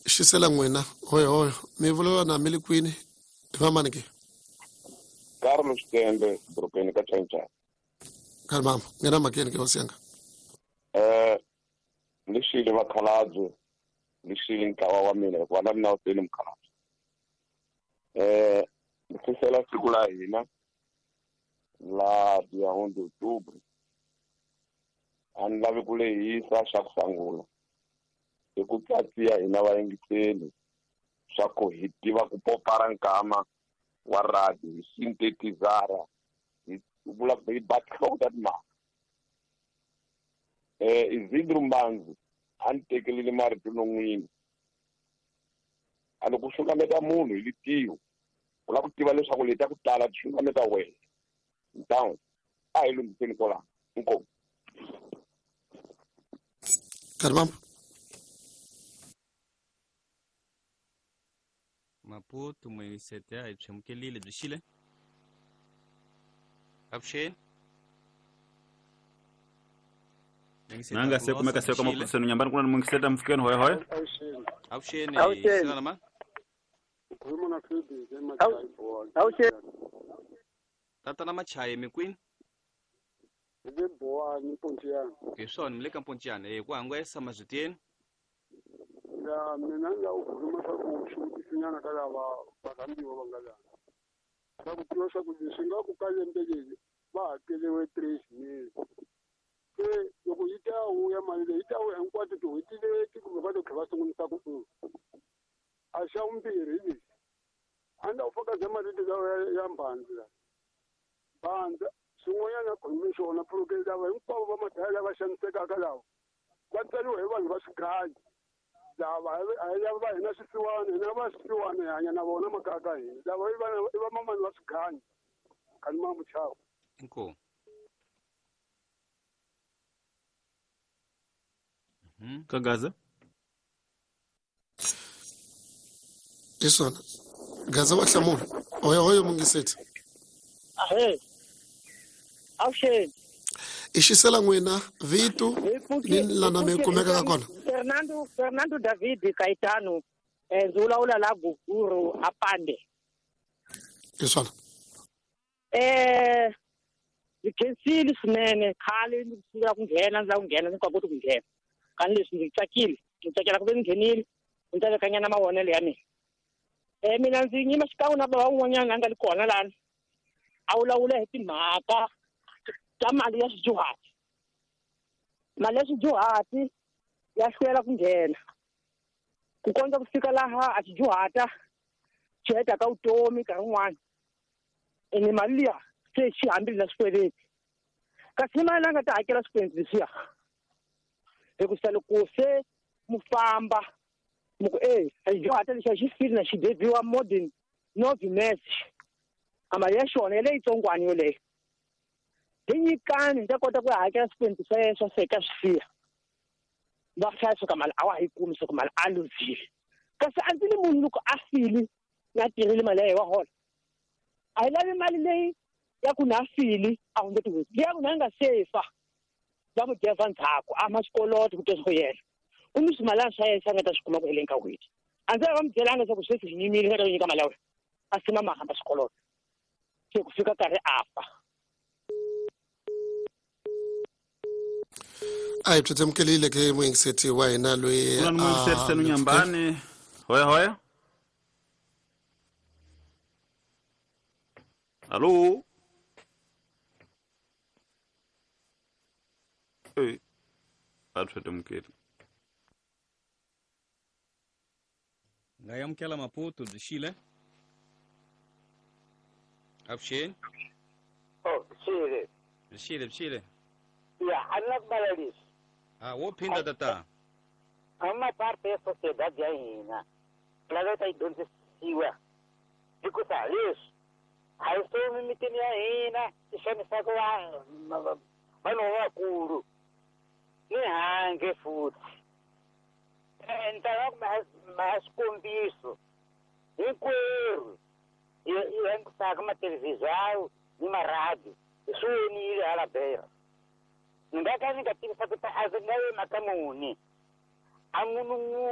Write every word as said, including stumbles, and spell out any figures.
Xisela n'wina hoyo hoyo mi vulavula na mi le kwini hi vamani ke? Carlos Tembe dorobeni ka Chanchana. Karhi mama nghena mhakeni ke hosi yanga. Eh ni xile vakhalabye, ni xile ntlawa wa mina hikuva na mina wu tele mukhalabye. Eh ni fisela siku la hina la dia onze de outubro. A ni lavi ku lehisa xa ku sungula i ku tsatsiya hina vayingiseli swa ku hi tiva ku popara nkama wa radio hi sintetizara hi vula hi ba tinhloko ta timhaka. Eh Isidro Mbanzi a ni tekelile marito non'wini a loko u xungameta munhu hi litiho u lava ku tiva leswaku leti ta ku tala ti xungameta wena ntawu a hi lunghiseni kwalano inkomu. Karhi mama. Maputo muyingisete a hi byi byi xile. Avuxeni. Nanga se kumeka se kama kusenu nyambani kuna muyingisete mfikeni hoye hoye. Avuxeni. Avuxeni. Xana ma? Avuxeni. Tatana Machaye mi kwini? Hi le Bowani Mpontiyana. Hi swona mi le ka Mpontiyana eh ku hangwesa mazwiteni. Ya mina ni lava ku khuluma swa ku xivutisinyana ka lava varhambiwa va nga lana. Swa ku tiva swa ku leswi nga ku ka lembe leri va hakeriwe three mil. Se loko yi ta vuya mali leyi yi ta vuya hinkwato tin'hweti leti kumbe va to tlhela va sungurisa ku u. A xa vumbirhi hi lexi a ni lava ku fakaza marito lawa ya ya mbhandzu la. Mbhandzu swin'wanyana a khulume swona pulukeli lava hinkwavo va madaya lava xanisekaka lava va tsariwa hi vanhu va swiganyi lava a hi lava va hina swisiwana hina va swisiwana hi hanya na vona makaya ka hina lava i vana i vamamani va swiganyi kani ma muchavo. Inkomu. Mhm. Ka Gaza. Hi swona Gaza wa hlamula hoyo hoyo muyingiseti. Ahee. Avuxeni. I xisela n'wina vito ni lana mi kumekaka kona. Fernando Fernando David Caetano eh ndzi vulavula la Guguru apande. Hi swona. Eh ndzi khensile swinene khale ndzi sungula ku nghena ndzi lava ku nghena ndzi nga koti ku nghena. Kani leswi ndzi tsakile ndzi tsakela ku ve ndzi nghenile ndzi ta vekanyana mavonelo ya mina. Eh mina ndzi nyima xikan'we na bava un'wanyana a nga li kona lani a vulavula hi timhaka ta mali ya swidyuhati. Mali ya swidyuhati ya hlwela ku nghena ku kondza ku fika laha a xidyuhata xi hetaka vutomi nkarhi wun'wani ene mali liya se xi hambile na swikweleti kasi mali a nga ta hakela swikweleti leswiya hikusa loko se mu famba mu ku e a xidyuhata lexi a xi fili na xi debiwa more than novimesi a mali ya xona ya leyitsongwana yoleyo hi nyikani hi ta kota ku hakela swikweleti swa yena swa seka swi siya va hlaya swa ka mali a wa ha yi kumi swa ku mali a luzile kasi a ndzi ni munhu loko a fili na tirhile mali ya yena wa hola a hi lavi mali leyi ya ku na fili a hundze tin'hweti leyi ya ku na nga sefa va mu deva ndzhaku a ma xikoloto ku twa yena ku ni swimalana swa yena swi a nga ta swi kuma ku heleni ka n'hweti a ndzi va mu byelanga leswaku sweswi hi nyimile nga ta ku nyika mali ya wena a sima ma hamba xikoloto se ku fika nkarhi a fa. A hi byi ke muyingiseti wa hina loyi Kuna ni muyingiseti senu nyambani hoye hoye. Alo. Eh a thwetemukeli. Nga amukela Maputo byi xile. Avuxeni. Oh, xile. Byi xile byi xile. Ya, a ni la ku vala leswi. Ah, wo phinda tata. A ma parte ya sociedade ya hina. Laveka yi dyondzisiwa. Hikusa leswi a hi swi mimitini ya hina yi xanisaka vanhu vanhu lavakulu ni handle futhi. Eh ni ta lava ku ma xikombiso hinkwerhu hi hi langutisaka mathelevhizhawu ni maradiyo hi swi vonile hala Beira. Ni nga ka ni nga tivisa ku ta a ndzi nga yi mhaka muni a munhu.